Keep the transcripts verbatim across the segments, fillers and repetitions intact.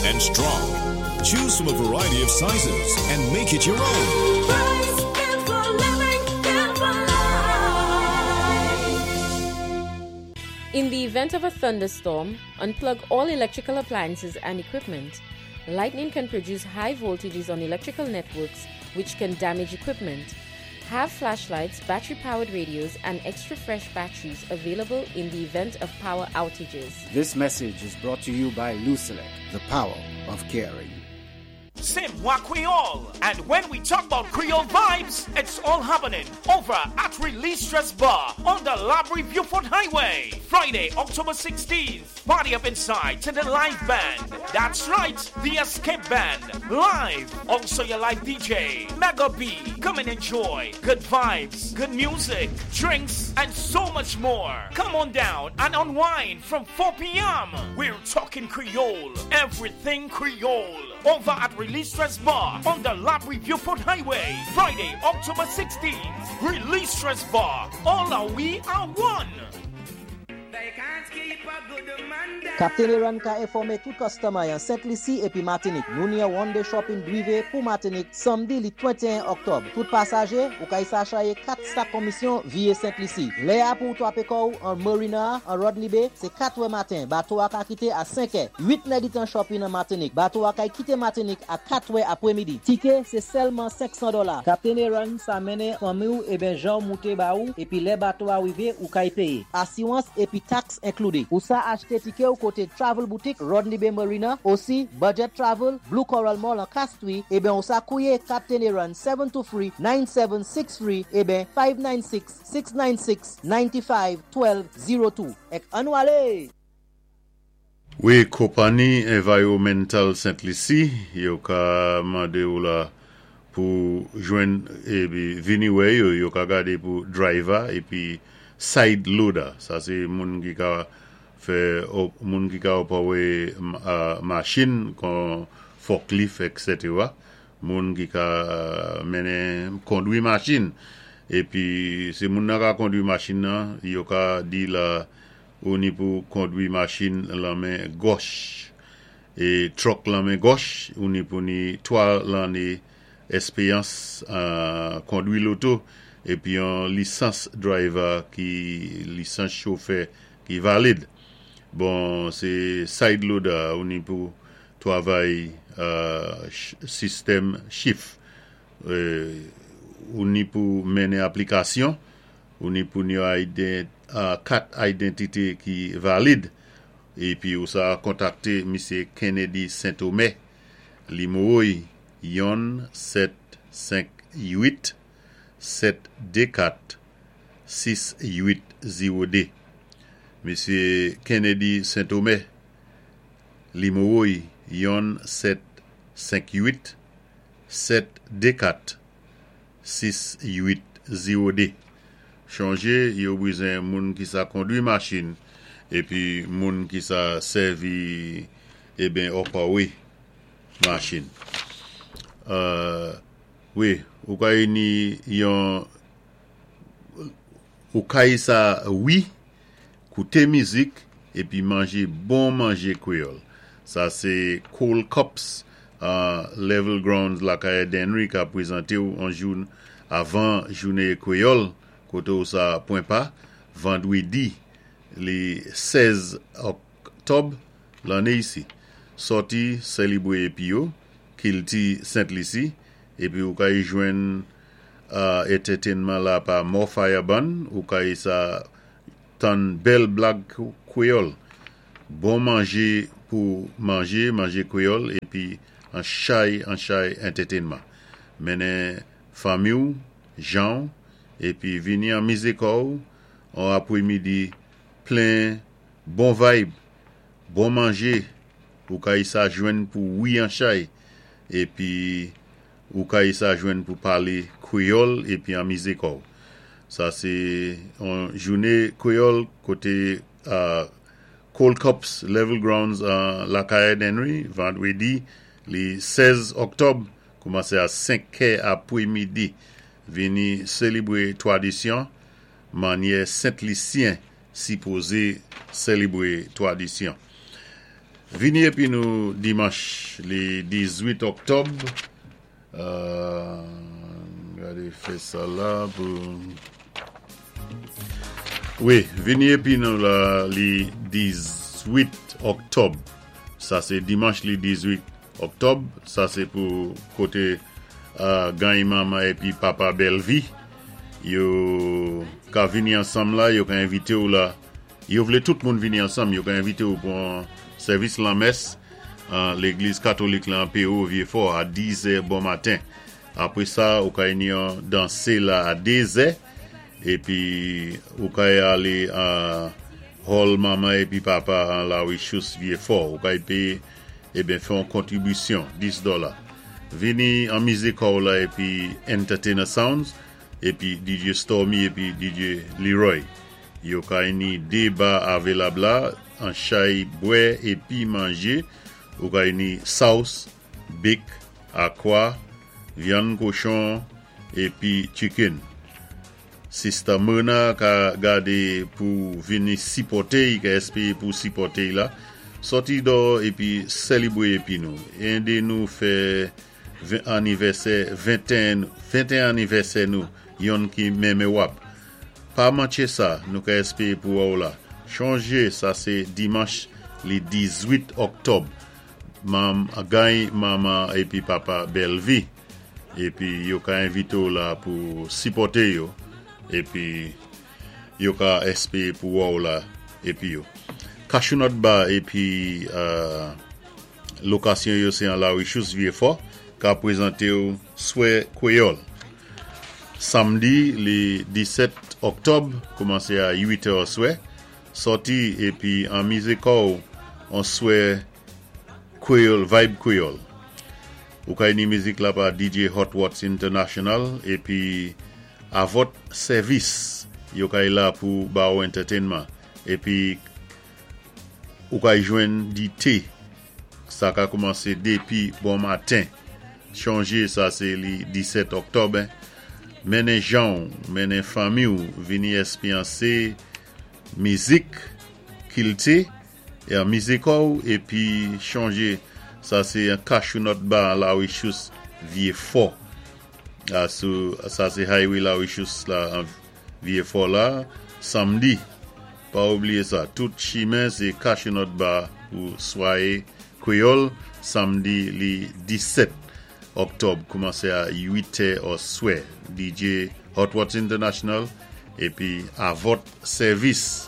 and strong. Choose from a variety of sizes and make it your own. Price, good for living, good for life. In the event of a thunderstorm, unplug all electrical appliances and equipment. Lightning can produce high voltages on electrical networks, which can damage equipment. Have flashlights, battery powered radios, and extra fresh batteries available in the event of power outages. This message is brought to you by Lucelec, the power of caring. Se Mwa Kwéyòl. And when we talk about Creole vibes, it's all happening over at Release Stress Bar on the Labrie Beaufort Highway. Friday, October sixteenth. Party up inside to the live band. That's right, the Escape Band. Live. Also your live D J, Mega B. Come and enjoy good vibes, good music, drinks, and so much more. Come on down and unwind from four p m. We're talking Creole. Everything Creole. Over at Release Stress Bar on the Labrie Beaufort Highway. Friday, October sixteenth. Release Stress Bar. All are we are one. Captain Aaron ka enfòmé tout customer an Sent Lisi épi Matinik. Nou ni yon one day shopping drivé pou Matinik samdi li twenteyen Oktòb. Tout pasajé ou kay sa chayé kat sak komisyon viwé Sent Lisi. Lè a pou twapé kò'w an Marina an Rodney Bay, sé kat è maten. Bato a ka kité a senk è. uit nèditan shopping an Matinik. Bato a kay kité Matinik a kat è apwémidi. Tiké sé sèlman senksan dola. Captain Aaron sa mennen fanmi ou eben jan mouté ba ou épi lè bato a wivé ou kay péyé. Asiwans épi tax enkloudé. Ou sa achté tiké ou koté Travel Boutique, Rodney Bay Marina, osi Budget Travel, Blue Coral Mall an Castries, eben ou sa kouwé Captain Aaron seven two three, nine seven six three eben five nine six, six nine six, nine five, one two zero two. Èk annou alé! Wi, konpanni Environmental Saint Lucie, yo ka mandé ou la pou jwenn épi vini wè yo, yo ka gadé pou driver épi side loader. Sa sé moun ki ka fè moun ki ka opawé machin kon forklift, et cetera. Moun ki ka mennen kondwi machin. Épi sé moun nan ka kondwi machin nan, yo ka di la ou ni pou kondwi machin lan men gòch. É truck lan men gòch, ou ni pou ni twa lanné èspéyans kondwi loto épi yon lisans driver ki lisans chofè ki valid. Bon, sé side loader ou ni pou twavay sistèm shift. Ou ni pou mennen aplikasyon, ou ni pou ni kat idantité ki valid. Épi ou sa kontakté Misye Kennedy Saint-Omer, nimewo i yonn sèt senk uit sèt dé kat sis uit zewo dé. Misye Kennedy Saint-Omer, nimewo i yonn sèt senk uit sèt dé kat sis uit zewo dé. Chonjé, yo bezwen moun ki sa kondwi machin épi moun ki sa sèvi eben opawé machin. Wi, ou kay ni yon ou kay sa wi, kouté mizik épi manjé bon manjé kwéyòl. Sa sé Cold Cups Level Grounds lakay Denry ka pwézanté ou an joun avan jouné kwéyòl koté ou sa pwen pa vandwédi li sèz Oktòb lanné isi. Sòti sélibwé épi yo, kilti Sent Lisi, épi ou kay jwenn entertainment la pa Morfire Band, ou kay sa tann bèl blag kwéyòl. Bon manjé pou manjé, manjé kwéyòl, épi an chay, an chay entertainment. Mennen fanmi ou, jan, épi vini anmizé kò'w, an apwémidi plen bon vibe, bon manjé, ou kay sa jwenn pou wi an chay, épi ou kay sa jwenn pou palé kwéyòl épi anmizé kò'w. Sa sé an jouné kwéyòl koté Cold Cups Level Grounds lakay Henry, vandwédi li sèz Oktòb, koumansé a senk è apwémidi. Vini sélibwé twadisyon, mannyè Sent Lisyen sipozé sélibwé twadisyon. Vini épi nou dimanch li dizuit òktòb. Euh, gadé fè sa la pou. Wi, vini épi nou la li dizuit òktòb. Sa sé dimanch li dizuit òktòb. Sa sé pou koté euh, gany manman épi papa Bellevie. Yo ka vini ansanm la, yo ka envité ou la. Yo vlé tout moun vini ansanm, yo ka envité ou pou yon sèvis lanmès an légliz katolik la an P O Vieux-Fort a diz è bon maten. Apwé sa, ou ka ni yon dansé la a dé zè épi ou ka alé a hall manman épi papa an La Richous Vieux-Fort. Ou ka péyé eben fè yon kontribisyon dis dola. Vini anmizé kò'w la épi Entertainer Sounds épi D J Stormy épi D J Leroy. Yo ka ni dé ba avelab la, an chay bwè épi manjé. Ou ka ni sauce, bik, akwa, vyann kochon épi chicken. Sista Mona ka gadé pou vini sipòté, ka èspéwé pou sipòté la. Sòti dò épi sélébwé épi nou. Édé nou fè anivèsè venteyen, venteyen anivèsè nou, yonn ki mémowab. Pa manché sa, nou ka èspéwé pou wè ou la. Chonjé, sa sé dimanch li dizuit òktòb. Mam, gany manman épi papa Bellevie. Épi yo ka envité ou la pou sipòté yo. Épi yo ka èspéwé pou wè ou la épi yo. Cashew Bar épi euh, lokasyon yo sé an La Richous Vieux-Fort ka pwézanté ou swé kwéyòl. Samdi li disèt òktòb koumansé a uit è swé. Sòti épi anmizé kò'w an swé kwéyòl, vibe kwéyòl. Ou ka ni mizik la pa D J Hot Watts International épi a vòt sèvis yo ka la pou ba ou entertainment épi ou ka jwenn di té. Sa ka koumansé dépi bon maten. Chonjé sa sé li disèt òktòb. Mennen jan, mennen fanmi ou vini èspéryansé mizik, kilti é anmizé kò'w épi chonjé sa sé yon Cashew Nut Bar La Richous Vieux-Fort. Ah, sou, sa sé highway La Richous la Vieux-Fort la samdi. Pa oubliyé sa, tout chimen sé Cashew Nut Bar pou swáwé kwéyòl samdi li disèt òktòb koumansé a uit è ó swé. D J Hot Watts International épi a vòt sèvis.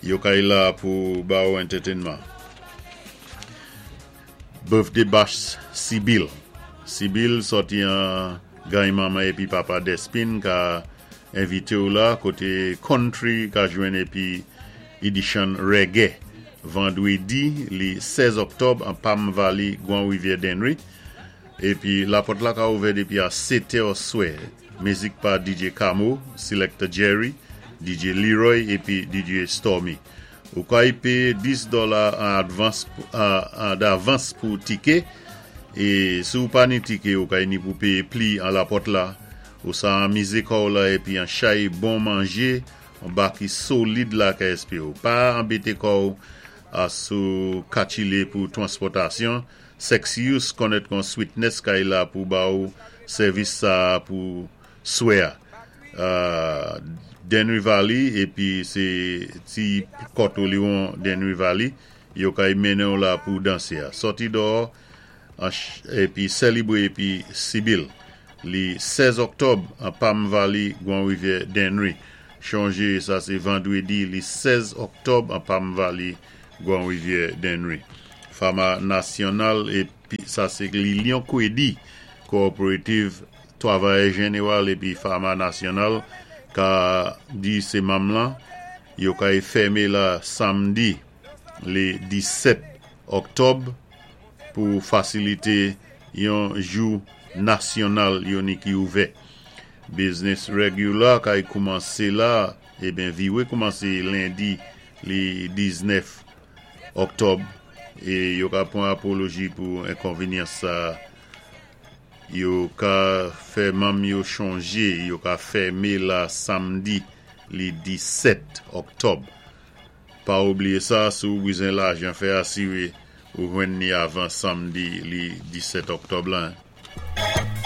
Yo kay la pou ba ou entertainment. Birthday bash Sibyl. Sibyl sòti an gany manman épi papa Despin ka envité ou la koté country ka jwenn épi edition reggae. Vandwédi li sèz òktòb an Palm Valley, Grand Rivière Dennery. Épi lapòt la ka ouvè dépi a sèt è swé. Mizik pa D J Camo, Selector Jerry, D J Leroy épi D J Stormy. Ou ka y péyé dis dola an advans davans pou tiké é si ou pa ni tiké ou ka ni pou péyé pli an lapòt la. Ou sa anmizé kò'w la épi an chay bon manjé, an baki solid la ka èspéwé ou. Pa anbété kò'w a sou kachilé pou transpòtasyon. Sexius konet kon sweetness kay la pou ba ou sèvis sa pou swé a. Uh, Dennery Valley épi sé ti kòt Oliwon Dennery Valley yo kay mennen ou la pou dansé a. Sòti dò épi sélébwé épi Sibyl. Li sèz òktòb an Palm Valley, Grand Rivière Dennery. Chonjé sa sé vandwédi li sèz òktòb an Palm Valley, Grand Rivière Dennery. Fama Nasyonal épi sa sé Lilion Kwedi Cooperative Travayè Jénéwal épi Fama Nasyonal ka di sé manm lan yo kay fèmé la samdi li disèt òktòb pou fasilité yon jou nasyonal yo ni ki ouvè. Business regular kay koumansé la, eben viwé koumansé lendi li diznèf òktòb é yo ka pwan apoloji pou enkonvényans sa. Yo ka fè manm yo chonjé, yo ka fèmé la samdi li disèt òktòb. Pa oubliyé sa, si ou bizwen lajan fè asiwé Ou jwenn ni avan samdi li disèt oktòb la.